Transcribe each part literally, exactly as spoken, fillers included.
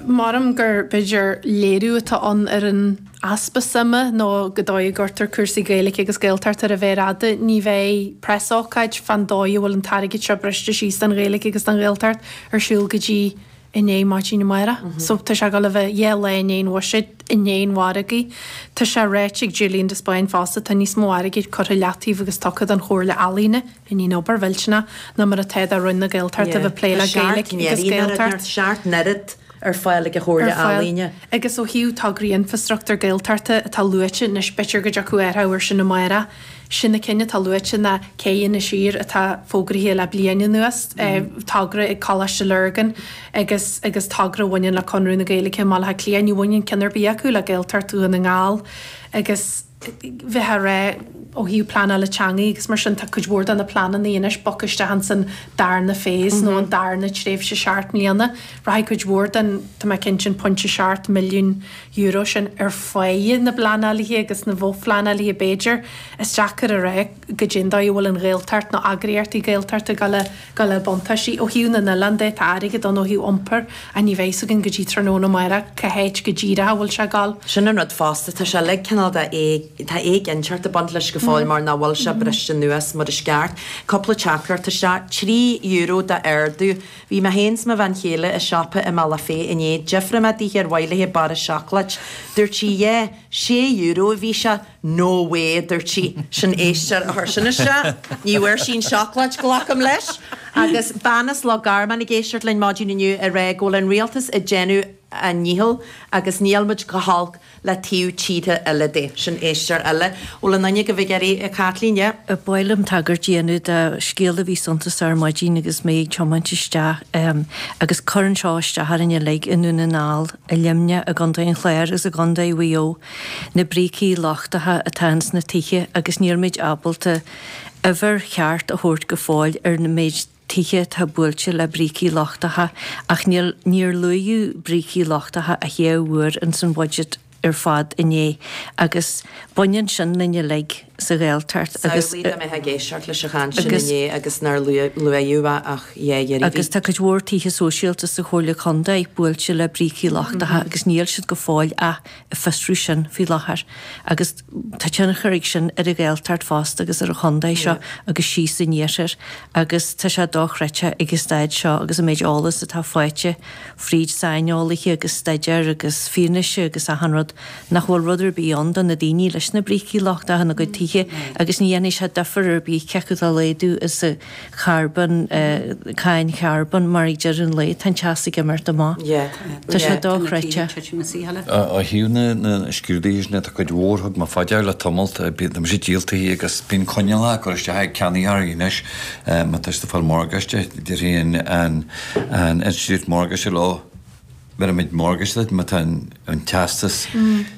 Maram gur b'fhéidir léiriú atá ann ar an easpa suime nó go dóigh a gcuirtear cúrsaí Gaeilge agus Gaeltacht ar a mhéar fhada. Ní bheidh preasócáid fán dóigh a bhfuil an t-airgead seo briste síos don Ghaeilge agus don Ghaeltacht ar siúl go dtí inné maidin amárach. So tá sé ag dul a bheith dhá lá i ndiaidh an bhuiséid, i ndiaidh an mhargaidh. Tá sé ráite ag Julian de Spáinn fosta, tá níos mó airgid curtha leataobh agus tugtha don Chomhairle Ealaíne i ndiaidh an obair mhillteanach ná mar atá do Roinn na Gaeltachta a bheith ag plé le Gaeilge agus Gaeltacht. Seacht n-oiread ar fáil ag an Chomhairle Ealaíne. Agus ó thaobh tograí infrastruchtúr Gaeltachta atá luaite anois, b'fhéidir go dtiocfadh athrú air sin amárach. Sin na cinn atá luaite ná Cé Inis Oírr atá fógraithe le bliain anuas, togra ag Coláiste Lurgan agus agus togra a bhaineann le Conradh na Gaeilge i mBaile Átha Cliath. Ní bhaineann ceann ar bith acu le Gaeltacht Dhún na nGall agus bheith á rá ó thaobh pleanála teanga agus mar sin tá cuid mhór de na pleananna anois bogtha isteach ins an darna phase nó an darna tréimhse seacht mbliana. Rachaidh cuid mhór den, tá mé cinnte, an pointe seacht milliún euro sin ar feadh na bpleanálaithe agus na bhfo-phleanálaithe b'fhéidir. Is deacair a rá goidé an dóigh a bhfuil an Ghaeltacht nó eagraíochtaí Gaeltachta ag dul dul le buntáistí. Ó thaobh na n-oileán de tá airgead ann ó thaobh iompair ach ní bheidh fhios againn go dtí tráthnóna amárach cá háit go díreach a bhfuil sé ag dul. Sin an rud fosta, tá sé uilig cineál de tá éiginnteacht ag baint leis go fóill mar nach bhfuil sé briste anuas mar is ceart. Cúpla teachtaireacht isteach, trí euro d'ardú. Bhí mé féin 's mo bhean chéile i siopa i mBealach Féich inné, d'fhiafraigh mé dithe ar mhaith léi barra seacláid. Dúirt sí yeah, sé euro a bhí sé. No way, a dúirt sí. Sin éisteoir a chuir sin isteach. Ní bhfuair sí an seacláid, glacaim leis. Agus bean as Loch Garman ag éisteacht linn maidin inniu ag rá go bhfuil an rialtas ag déanamh a ndícheall agus níl muid go holc le taobh tíortha eile de. Sin éisteoir eile. Bhfuil aon duine agaibh ag iarraidh, a Chaitlín, yeah? Ba mhaith liom tagairt a dhéanamh do scéal a bhí suntasach ar maidin agus mé ag tiomáint isteach agus cuireann seo isteach orainn uilig i nDún na nGall, i Luimneach, i gContae an Chláir agus i gContae Mhaigh Eo, na brící lochtacha atá ins na tithe agus nílimid ábalta uimhir cheart a thabhairt go fóill ar na méid tithe atá buailte le brící lochtacha ach níl níor luaíodh brící lochtacha ach dhá uair ins an bhuiséad ar fad inné agus baineann sin linn uilig sa Ghaeltacht agus Samhlaigh dá mbeifeá ag éisteacht leis an chaint sin inné agus nár luaíodh é ach dhá iarraidh. Agus tá cuid mhór tithe sóisialta sa Chomhairle Contae buailte le brící lochtacha agus níl siad go fóill ach ag fiosrú sin faoi láthair agus tá tionchar ag sin ar an Ghaeltacht fosta agus ar an chontae seo agus síos san iarthar agus tá sé dochreidte ag an staid seo agus an méid eolas atá faighte fríd saineolaithe agus staidéir agus fianaise agus achan rud nach bhfuil rud ar bith ann do na daoine leis na brící lochtacha ina gcuid tithe agus ní dhéanfaidh sé difear ar bith cé acu dá laghdú is a charbón, cáin charbóin mar ag deireadh an lae tá an teas ag imeacht amach. Tá sé dochreidte. Ó thaobh na scrúduithe sin, tá cuid mhór thug mé fá dear le tamalt, tá mise díoltaithe agus bíonn coinníollacha á gcur isteach ag ceannaitheoirí anois má tá siad ag fáil morgáiste, déarfaidh an institiúid morgáiste leo, bhéarfaimid morgáiste duit má tá an teastas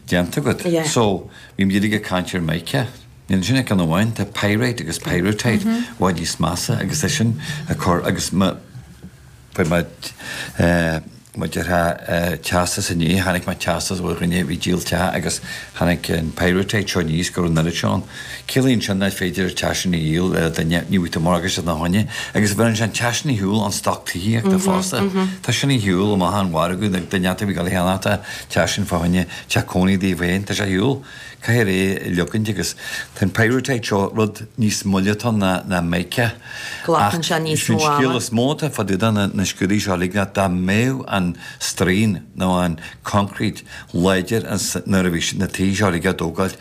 déanta agat. So, bhí muid uilig ag caint ar mica. Níl ansin ach ceann amháin, tá pyrite agus pyrrhotite i bhfad níos measa agus é sin ag cur agus má fuair mé má déarfá teastas inné, chonaic mé teastas ó dhuine a bhí ag díol teach agus tháinig an pyrrhotite seo aníos go raibh an oiread seo ann. Ciallaíonn sin nach féidir an teach sin a dhíol le duine, ní bhfaighidh tú morgáiste ina choinne agus bheireann sé an teach sin ar shiúl ón stoc tithíochta fosta. Tá sin ar shiúl amach ón mhargadh, duine a bhí ag dul a cheannacht an teach sin fá choinne teach cónaí daofa féin, tá sé ar shiúl. Caithfear é a leogaint agus tá an pyrrhotite seo rud níos moille atá ann ná mica. Glacann sé níos mó ama. An scéal is mó atá fá dtaobh de na scrúduithe seo uilig ná dá mbeadh an straoin nó an concrete láidir nuair a bhí na tithe seo uilig á dtógáil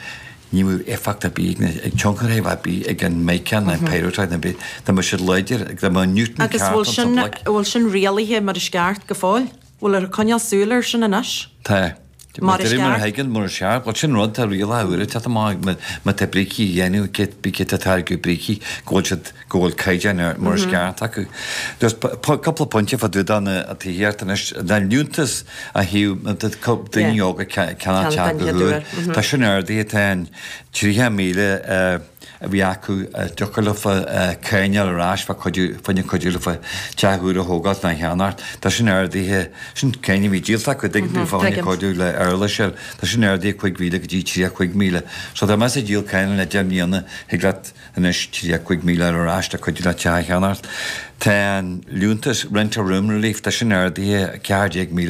ní bheadh éifeacht ar bith ag tionchar ar bith ag an mica ná an pyrrhotite ná bith. Dá mbeadh siad láidir, dá mbeadh Newton Agus ceart bhfuil ann sa sin, bhloic. bhfuil sin rialaithe mar is ceart go fóill? Bhfuil ag coinneáil súil air sin anois? Tá. Mar is Mar a ceart. thuigeann, mar is ceart. Bhuel, sin rud, tá rialacha úra ag teacht amach má tá brící a dhéanamh, cé bí cé tá táirgeadh brící, go bhfuil siad, go bhfuil caighdeáin ar mar is ceart acu. There's cúpla pointe fá dtaobh de na tithíocht anois, na liúntas a thaobh, daoine óga ceannach teach go huair. Tá sin ardaithe, tá an tríocha míle a bhí acu a dtiocfadh leofa cáin a fháil ar ais fá cuidiú, fá choinne cuidiú leofa teach úr a thógáilt nó a cheannacht. Tá sin ardaithe, sin cáin a bhí díolta acu, dtuigeann tú, fá choinne cuidiú le éarlais a fháil, tá sin ardaithe cúig mhíle go dtí tríocha cúig míle. So dá mbeifeá ag díol carranna le deich mbliana, thig leat anois tríocha cúig míle a fháil ar ais le cuidiú leat teach a cheannacht. Tá an liúntas Rent a Room Relief, tá sin ardaithe ceathair déag míle.